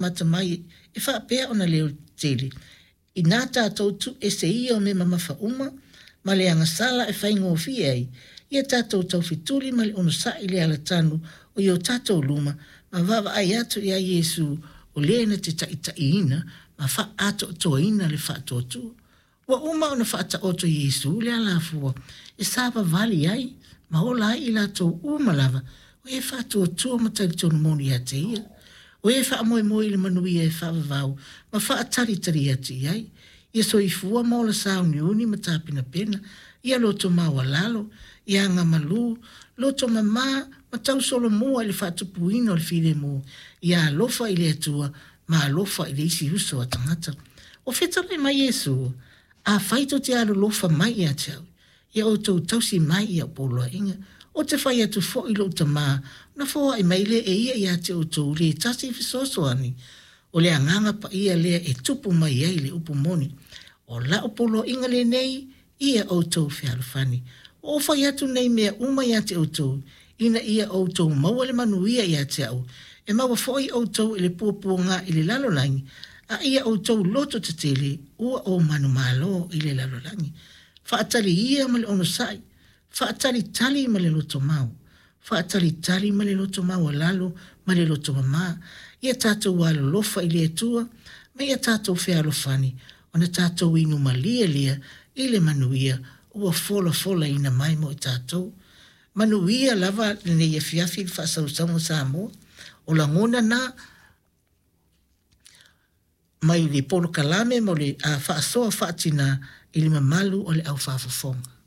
Mata mai e faapea ona leotele, inā tatou tu ese ia o mea mamafa uma ma le agasala e faigofie ai ia tatou taufetuli ma le onosai i le alatanu o i o tatou luma ma vaavaai atu ia Iesu o le na te taitaiina ma faaatoatoaina le faatuatua. Ua uma ona faataoto e Iesu le alafua e savavali ai ma ola ai i latou uma lava o e faatuatua ma talitonu moni ia te ia, o e faamoemoe i le manuia e faavavau ma faatalitali atu i ai. Ia soifua ma ola sauniuni ma tapenapena, ia loto maualalo, ia agamalu, loto mama ma tausolomua i le faatupuina o le filemu, ia alofa i le Atua ma alofa i le isi uso a tagata. Ua fetalai mai Iesu, Afai tou te alolofa mai ia te au, ia outou tausi mai i au poloaiga. Ou te fai atu foi i lou Tama, ona foai mai lea e ia ia te outou le tasi fesoasoani, o le Agaga Paia lea e tupu mai ai le upu moni. O lau poloaiga lenei, ia outou fealofani. Ua ou fai atu nei mea uma ia te outou, ina ia outou maua le manuia ia te au, e maua foi outou i le puapuaga i le lalolagi, a ia outou loto tetele, ua ou manumalo i le lalolagi. Faatali ia ma le onosai, faatalitali ma le lotomau, faatalitali ma le loto maualalo ma le loto mama, ia tatou alolofa i le Atua ma ia tatou fealofani, ona tatou inu malie lea i le manuia ua folafolaina mai mo i tatou. Manuia lava lenei afiafi i le faasausauga Samoa. O lagona na mai le polokalame mo le faasoa faatina i le mamalu o le au faafofoga.